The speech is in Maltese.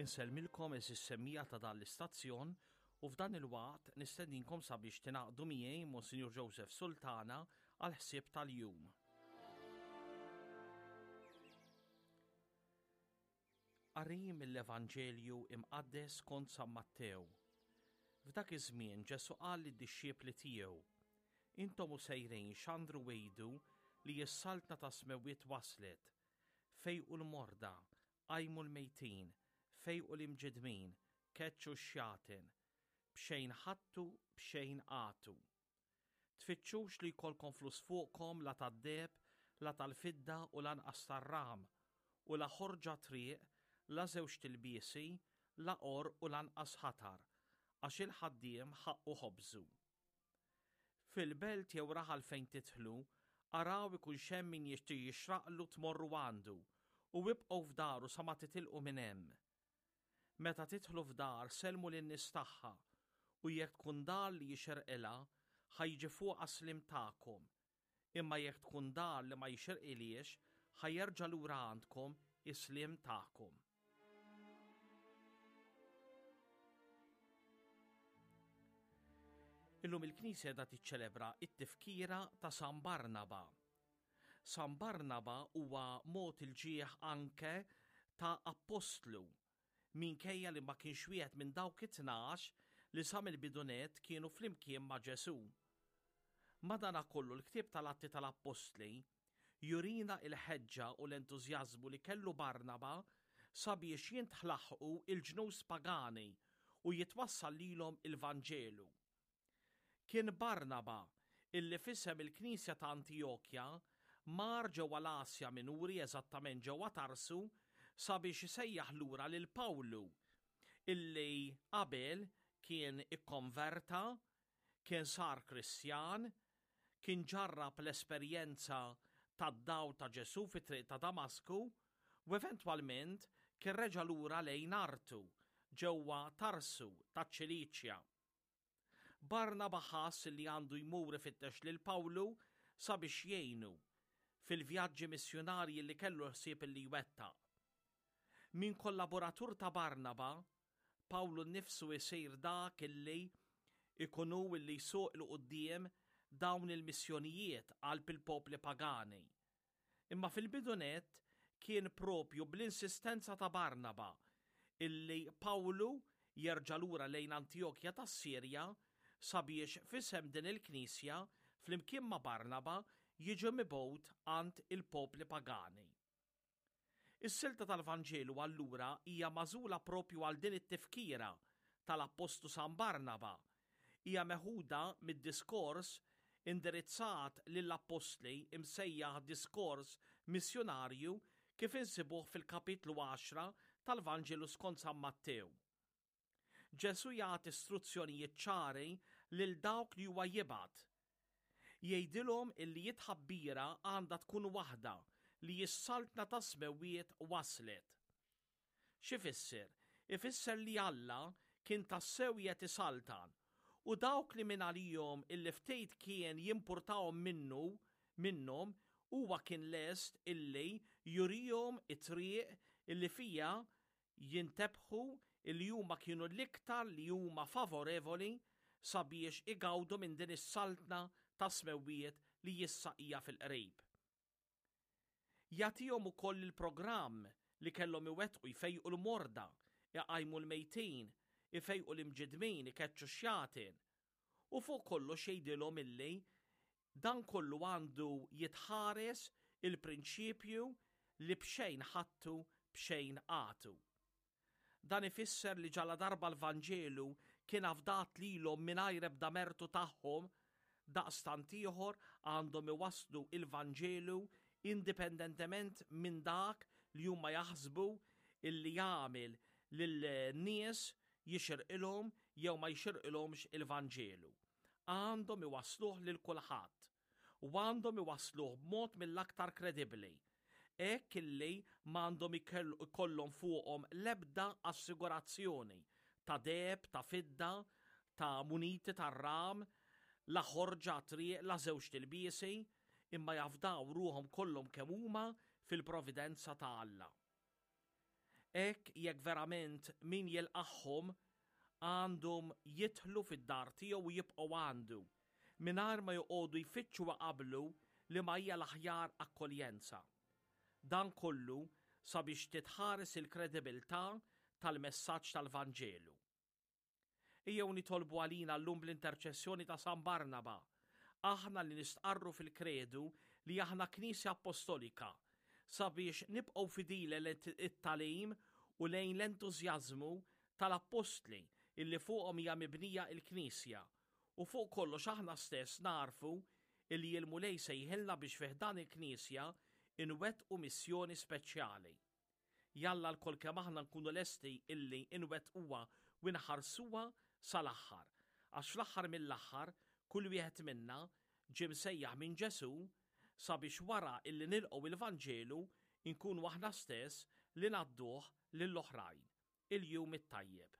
Insellmilkom eżis semmija ta' dan l-istazzjon u f'dan il-waqt nistedinkom sabiex tingħaqdu miegħi Monsinjur Joseph Sultana għal ħsieb tal-jum. Qari mill-Evanġelju imqaddes skont San Mattew. F'dak iż-żmien Ġesù qal lid-dixxipli tiegħu, Intom u sejrin xandru għidu li s-saltna tas-smewwiet waslet. Fejqu l-morda, qajmu l-mejtin, fejqu l-imġiddmin, keċċu x-xjaten. B'xejn ħadtu, b'xejn agħtu. Tfittxux li jkollkom flus fuqkom la tad-deheb, la tal-fidda u lanqas tar-ram, u la ħorġa triq, la żewġt ilbiesi, la għorq u lanqas ħatar, għax il-ħaddiem ħaqqu ħobżu. Fil-belt jew raħal fejn tidħlu, araw ikunx hemm min jixraqlu tmorru għandu, u ibqgħu f'daru sa ma titilqu minn hemm. Meta tidħlu f'dar sellmu lin-nies tagħha, u jekk tkun dar li jixirqilha, ħa jiġi fuqha s-sliem tagħkom. Imma jekk tkun dar li ma jixirqilhiex, ħa jerġa' lura għandkom is-sliem tagħkom. Illum il-Knisja qiegħda tiċċelebra t-tifkira ta' San Barnaba. San Barnaba huwa mogħti l-ġieħ anke ta' appostlu, minkejja li ma kienx wieħed minn dawk it-tnax li sa mill-bidu nett kienu flimkien ma' Ġesù. Madanakollu l-ktieb tal-Atti tal-Appostli jurina l-ħeġġa u l-entużjażmu li kellu Barnaba sabiex jintħlaħqu l-ġnus pagani u jitwassal lilhom il-Vanġelu. Kien Barnaba illi f'isem il-Knisja ta' Antijokja mar ġewwa l-Asja Minuri, eżattament ġewwa Tarsu, sabiex isejjaħ lura lil Pawlu, illi qabel kien ikkonverta, kien sar Kristjan, kien ġarrab l-esperjenza tad-dawl ta' Ġesù fit-triq ta' Damasku u eventwalment kien reġa' lura lejn artu ġewwa Tarsu taċ-Ċiliċja. Barnaba ħass li għandu jmur ifittex lil Pawlu sabiex jgħinu fil-vjaġġi missjunarji li kellu l-ħsieb li jwettaq. Minn kollaboratur ta' Barnaba, Pawlu nnifsu jsir dak illi ikun hu illi jsuq 'il quddiem dawn il-missjonijiet qalb il-popli pagani. Imma fil-bidu nett kien proprju bl-insistenza ta' Barnaba illi Pawlu jerġa' lura lejn Antijokja tas-Sirja sabiex f'isem din il-knisja flimkien ma' Barnaba jiġi mibgħut għand il-popli pagani. Is-silta tal-Vanġelu allura hija magħżula proprju għal din it-tifkira tal-Appostlu San Barnaba. Hija meħuda mid-diskors indirizzat lill-Appostli imsejjaħ diskors missjunarju kif insibuh fil-kapitlu għaxra tal-Vanġelu skont San Mattew. Ġesù jagħti struzzjonijiet ċari lil dawk li huwa jibgħat. Jgħidilhom illi t-tħabbira għandha tkun waħda li s-saltna tas-smewwiet waslet. X'ifisser? Ifisser li Alla kien tassew qiegħed isaltan u dawk li mingħalihom illi ftit kien jimpurtahom minnu minnhom huwa kien lest illi jurihom it-triq illi fiha jintebħu li huma kienu l-iktar li huma favorevoli sabiex igawdu minn din is-Saltna tas-Smewwiet li issa hija fil-qrib. Jagħtihom ukoll il-programm li kellhom iwettqu jfejqu l-morda, iqajmu l-mejtin, ifejqu l-imġiddmin, ikeċċu x-xjaten. U fuq kollox jgħidilhom illi Dan kollu għandu jitħares il-prinċipju li b'xejn ħadtu b'xejn agħtu. Dan ifisser li ġaladarba l-Vanġelu kien afdat lilhom mingħajr ebda mertu tagħhom, daqstant ieħor għandhom iwasslu il-Vanġelu indipendentement minn dak li huma jaħsbu illi jagħmel lil-nies jixirqilhom jew ma jixirqilhomx il-Vanġelu. għandhom iwassluh lil kulħadd u għandhom iwassluh b'mod mill-aktar kredibbli, hekk illi m'għandhom ikollhom fuqhom l-ebda assigurazzjoni ta' deheb, ta' fidda, ta' muniti tar-ram, la ħorġa għat-triq, la żewġt ilbiesi, imma jafdaw ruħhom kollhom kemm huma fil-providenza ta' Alla. Hekk jekk verament min jilqagħhom għandhom jidħlu fid-dar tiegħu u jibqgħu għandu, mingħajr ma joqogħdu jfittxu iqabblu liema hija l-aħjar akkoljenza. Dan kollu sabiex titħares il-kredibilità tal-messaġġ tal-Vanġelu. Ejjew nitolbu għalina llum bl-interċessjoni ta' San Barnaba, aħna li nistqarru fil-Kredu li aħna Knisja Appostolika, sabiex nibqgħu fidili lejn it-tagħlim u lejn l-entużjażmu tal-Appostli illi fuqhom hija mibnija il-Knisja, u fuq kollox aħna stess nagħrfu illi l-Mulej sejħilna biex fi ħdan il-Knisja inwettqu missjoni speċjali. Jalla lkoll kemm aħna nkunu lesti illi nwettquha u nħarsuha sal-aħħar, għax fl-aħħar mill-aħħar kull wieħed minna ġie msejjaħ minn Ġesù sabiex wara illi nilqgħu il-Vanġelu nkunu aħna stess li ngħadduh lill-oħrajn. Il-Jum it-Tajjeb.